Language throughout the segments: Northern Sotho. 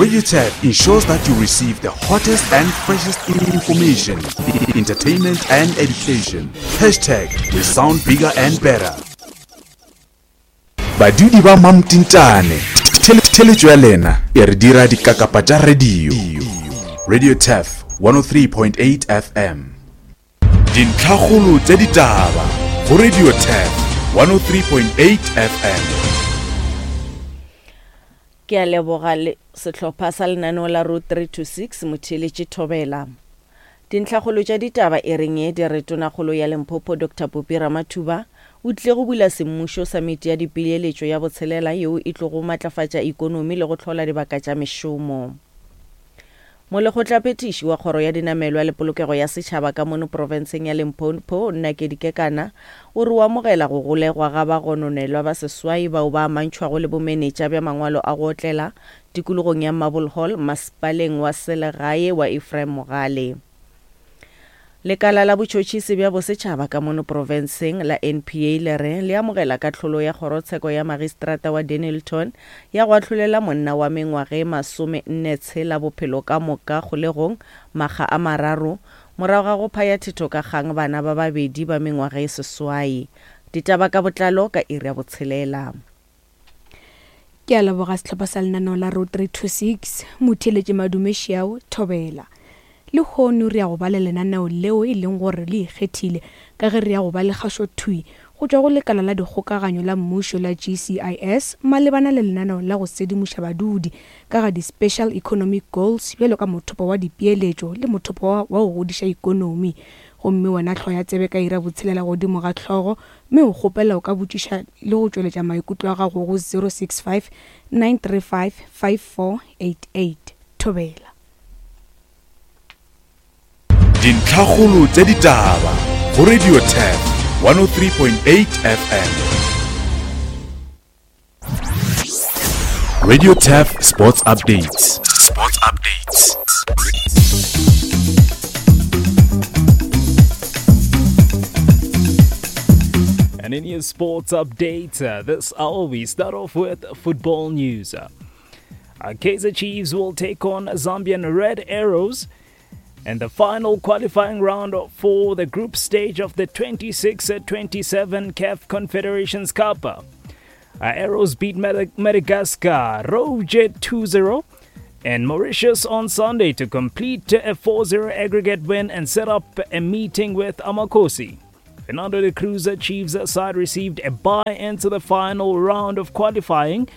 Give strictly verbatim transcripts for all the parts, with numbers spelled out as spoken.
Radio Turf ensures that you receive the hottest and freshest information, entertainment and education. Hashtag we sound bigger and better. Badudi ba Mamtintane, theletšo ya lena e re dira dikakapa tša radio. Radio Turf one oh three point eight F M. Dintlhakgolo tša ditaba go Radio Turf one oh three point eight F M. Ke a leboga le sehlopha sa lenaneo la Road three two six motheeletši Thobela. Dintlhakgolo tša ditaba e reng e di re tonakgolo ya Limpopo Doctor Phophi Ramathuba o tlile go bula semmušo samiti ya dipeeletšo ya botshelela yeo e tlogo matlafatša ikonomi le go hlola dibaka tša mešomo. Molekgotlaphethiši wa kgoro ya dinamelwa le polokego ya setšhaba ka mono profenseng ya Limpopo Nakedi Kekana o re o amogela go golegwa ga bagononelwa ba seswai bao ba amantšhwago le bomenetša bja mangwalo a go otlela tikologong ya Marble Hall masepaleng wa selegae wa Ephraim Mogale. Lekala la botšhotšhisi bja bosetšhaba ka mono profenseng la N P A le re le amogela kahlolo ya kgorotsheko ya magistrata wa Dennilton ya go ahlolela monna wa mengwaga e masome nne tshela bophelo ka moka kgolegong makga a mararo morago ga go phaya thetho ka kgang bana ba babedi ba mengwaga e seswai. Ditaba ka botlalo ka iri ya botshelela. Ke a leboga sehlopha sa lenaneo la Road three two six, motheeletši Madume Šiao, Thobela. Lehono re ya go ba le lenaneo leo e leng gore le ikgethile ka ge re ya go ba le kgašothwi go tšwa go lekala la dikgokaganyo la mmušo la G C I S malebana le lenaneo la go sedimoša badudi ka ga di-Special Economic Goals bjalo ka mothopo wa dipeeletšo le mothopo wa, wa go godiša ikonomi. Gomme wena hloya tsebe ka ira botshelela godimo ga hlogo mme o kgopela o ka botšiša le go tšweletša maikutlo a gago go zero six five, nine three five, five four eight eight. Thobela. Dintlhakgolo tša ditaba go Radio Turf one oh three point eight F M. Radio Turf Sports Updates. Sports Updates. And in your sports update, uh, this hour we start off with football news. Uh, Kaizer Chiefs will take on Zambian Red Arrows in the final qualifying round for the group stage of the twenty-six twenty-seven C A F Confederations Cup. Uh, Arrows beat Madagascar Rouge two zero and Mauritius on Sunday to complete a four zero aggregate win and set up a meeting with Amakosi. Fernando de Cruz Chiefs side received a bye into the final round of qualifying.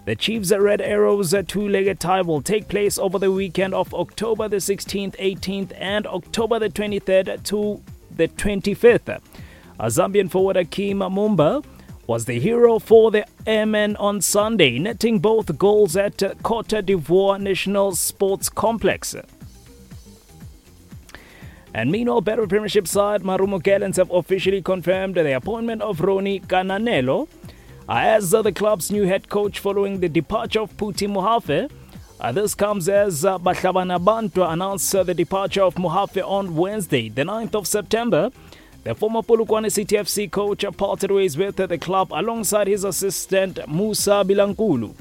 The Chiefs Red Arrows two-legged tie will take place over the weekend of October the sixteenth, eighteenth, and October the twenty-third to the twenty-fifth. A Zambian forward Akim Mumba was the hero for the Airmen on Sunday, netting both goals at Cote d'Ivoire National Sports Complex. And meanwhile, Betway Premiership side Marumo Gallants have officially confirmed the appointment of Ronnie Kananelo as the club's new head coach following the departure of Puti Mohafe. Uh, this comes as uh, Bahlabana Bantwa announced uh, the departure of Mohafe on Wednesday, the ninth of September. The former Polokwane City F C coach parted ways with the club alongside his assistant Musa Bilankulu.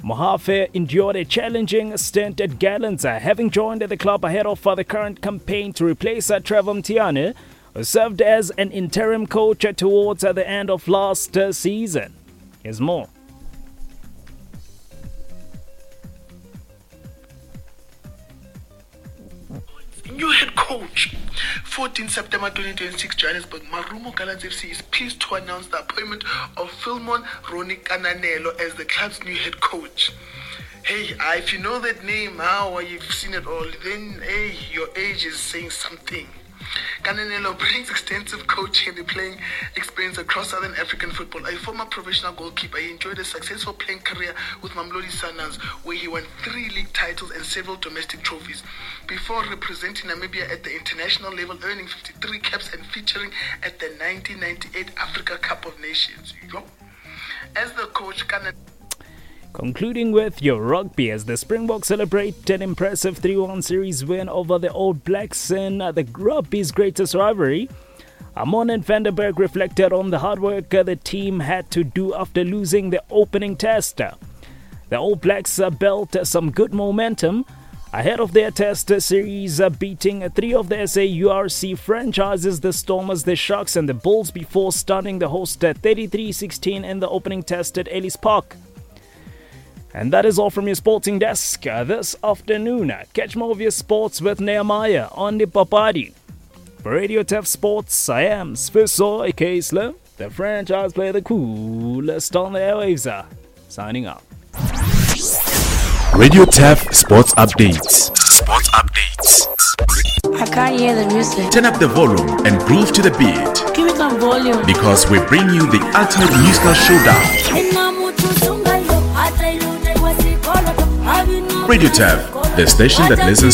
Mohafe endured a challenging stint at Gallants, uh, having joined the club ahead of uh, the current campaign to replace uh, Trevor Mtiane, who served as an interim coach uh, towards uh, the end of last uh, season. Here's more. New head coach, fourteenth September twenty twenty-six, Johannesburg. Marumo Gallants F C is pleased to announce the appointment of Philemon Ronnie Kananelo as the club's new head coach. Hey, if you know that name, how you've seen it all, then hey, your age is saying something. Kananelo brings extensive coaching and playing experience across Southern African football. A former professional goalkeeper, he enjoyed a successful playing career with Mamelodi Sundowns, where he won three league titles and several domestic trophies, before representing Namibia at the international level, earning fifty-three caps and featuring at the nineteen ninety-eight Africa Cup of Nations. Yo. As the coach, Kananelo... Concluding with your rugby, as the Springboks celebrate an impressive three one series win over the All Blacks in the rugby's greatest rivalry, Amon and van der Berg reflected on the hard work the team had to do after losing the opening test. The All Blacks uh, built some good momentum ahead of their test series, uh, beating three of the S A U R C franchises, the Stormers, the Sharks and the Bulls, before stunning the host at thirty-three sixteen in the opening test at Ellis Park. And that is all from your sporting desk, uh, this afternoon. Catch more of your sports with Nehemiah on the Papadi. For Radio T E F Sports, I am Sfiso, aka Slim, the franchise player, the coolest on the airwaves. Uh, signing out. Radio T E F Sports Updates. Sports Updates. I can't hear the music. Turn up the volume and groove to the beat. Give me some volume. Because we bring you the ultimate musical showdown. Radio T E F, the station that listens